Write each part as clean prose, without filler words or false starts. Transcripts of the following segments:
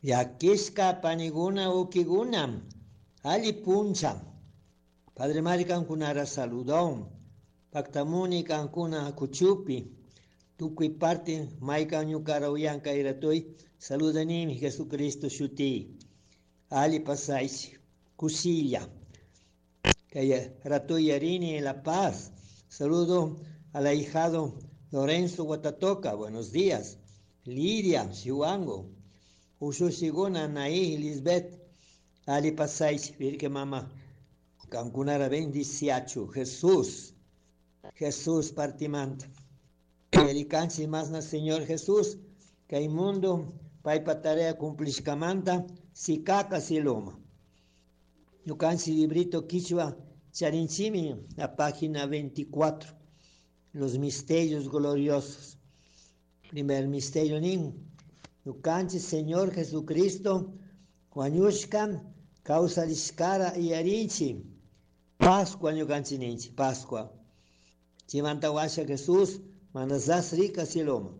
Llakishka paniguna ukiguna alli puncha. Padre Mari kankunara saludon. Paktamuni kankuna kuchupi. Tukuy parte maykan ñukara uyanka iratoy saludanimi Jesucristo shuti. Ali pasaychi. Kusilla. Kay ratoy yarini en La Paz. Saludo al ahijado Lorenzo Guatatoca. Buenos días. Lidia Chihuango. Ushussiguna Anaí Lisbeth. Ali pasaychi. Virgen Mama. Kankunara bendiciachu. Jesús. Jesús partimanta. Yarikanchik masna Señor Jesús. Kay mundo paypa tarea cumplishkamanta sikaka cieloma. Ñukanchik librito quichua charinchimi la página 24. Los misterios gloriosos. Primer misterio nin. Ñukanchik Señor Jesucristo wañushka kawsarishkara yarinchik. Pascua ñukanchik ninchik, Pascua. Chimanta washa Jesús manasas rika cieloma.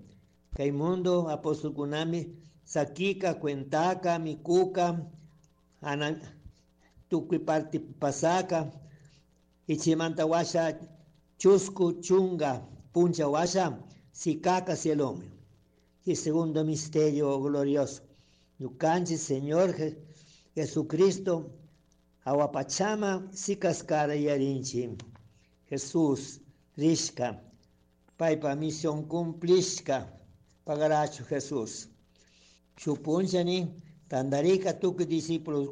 Kay mundo apostolkunami sakika, cuentaka, mikuka, ana tukuy parte pasaka. Y chimanta washa chusku chunga puncha washa sikaka cieloma. Y segundo misterio glorioso. Ñukanchik Señor Jesucristo awapachama sikaskara yarinchi. Jesús rishka paypa misión cumplishka pagarachu Jesús. Shupunchani tandarika tukuy discípulos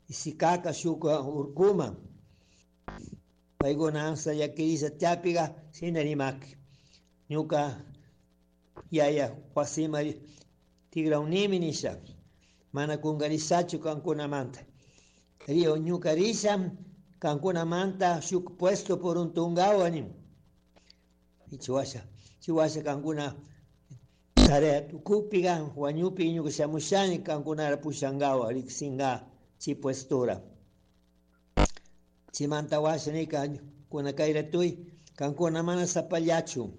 y sikaka shuka urkuma. Paykuna ansa llakirisa tiapiga shina rimaki. Ñuka yaya wasima tigrawnimi nisha. Mana kungarishachu kankunamanta. Rio ñuka risha kankunamanta shuk puesto por un tungawa nin. Y chiwasha, chiwasha kankuna tarea tukupiga wañupi ñuka shamushani kankunara pushangawa riksinga chi puestura. Chimanta washa nika kuna kayratuy kankuna mana sapallachu.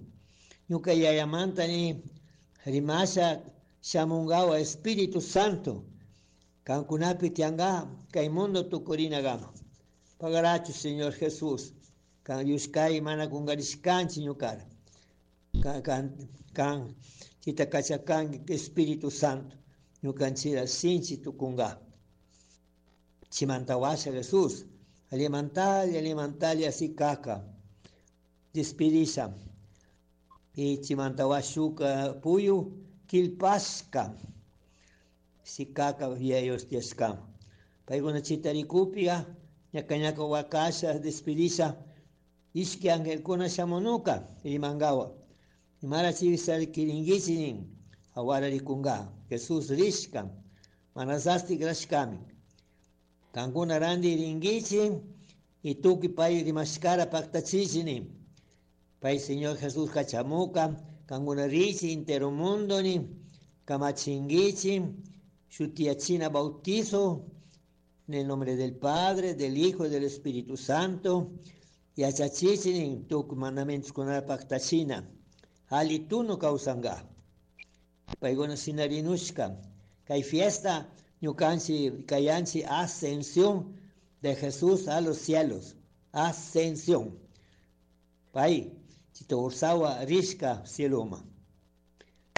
Ñuka yayamanta ni rimasha shamungawa Espíritu Santo. Kankunapi tianga kay mundo tukurinagama. Pagarachu Señor Jesús. Kan yushkay mana kungarishkanchi ñukara. Kan kan kan chita kachakanki Espíritu Santo. Ñukanchira sinchi tukunga. Chimanta washa Jesús. Alimantali, alimantali así kaka. Despedisa. Y chimanta washuka puyu kilpashka. Sikaka viejos tieskama. Paykuna chitarikupia, ñaka ñaka wakasha despedisa. Ishki angelkuna shamunuka rimangawa. Imara chivisari nin awara rikunga. Jesús rishka. Manasasti grashkami. Kankuna randi ringichi y tuki pay rimashkara paktachichi nin. Pay Señor Jesús kachamuka, kankuna richi entero mundo ni, kamachinguichi, shutiachina bautizo, en el nombre del Padre, del Hijo y del Espíritu Santo, y achachichi nin tukuy mandamientos kunara paktachina. Ali tuno kawsanga. Paykuna sinarinushka. Kay fiesta ñukanchi kayanchi ascensión de Jesús a los cielos. Ascensión. Pay, chito ursawa rishka cieloma.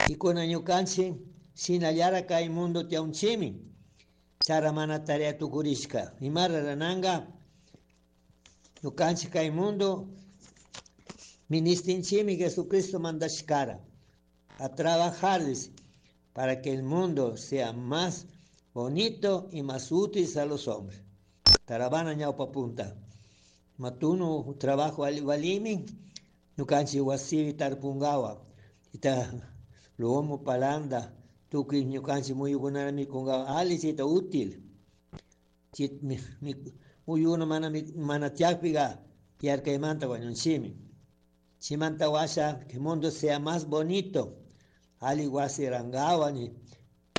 Y kuna ñukanchi shinallara kay mundo tiaunchimi. Chara mana tarea tukurishka. Imara rananga ñukanchi kay mundo ministinchimi Jesucristo mandashkara a trabajar para que el mundo sea más bonito y más útil a los hombres. Tarabana ñawpa punta. Matuno trabajo valimi, ñukanchi wasivi tarpungawa. Ita lomo palanda, tukuy ñukanchi muyukunara mikungawa ali chita útil. Chit mi, mi, muyuna mana mana tiakpiga yarkaymanta wañunchimi. Chimanta washa que mundo sea más bonito. Ali wasi rangawa ni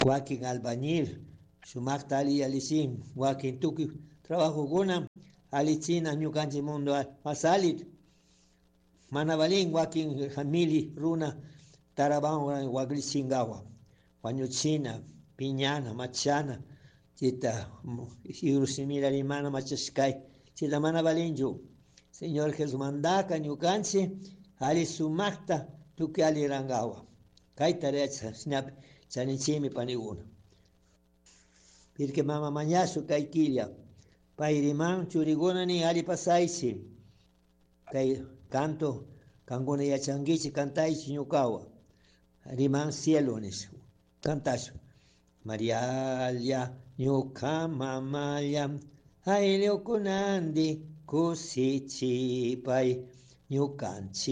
wakin albañil, sumakta ali alichin, wakin tukuy trabajo kuna alichina ñukanchik mundo más ali. Mana valin wakin famili runa taraban waklichingawa, wañuchina. Piñana, machana, chayta shimira rimana machashkay, chayta mana valinchu. Señor Jesús mandaka ñukanchik alli sumakta tukuy alli rankawa. Kay tarea chashnapi chaninchikmi panikuna. Pirque mama mañashu kay killa. Pay riman churikuna nin alli pasaychik. Kay canto kankuna yachankichik cantaychik ñukawan. Riman cielo nish. Cantashun. Marialla, ñuka mamalla, ayllukunandi kusichipay ñukanchik.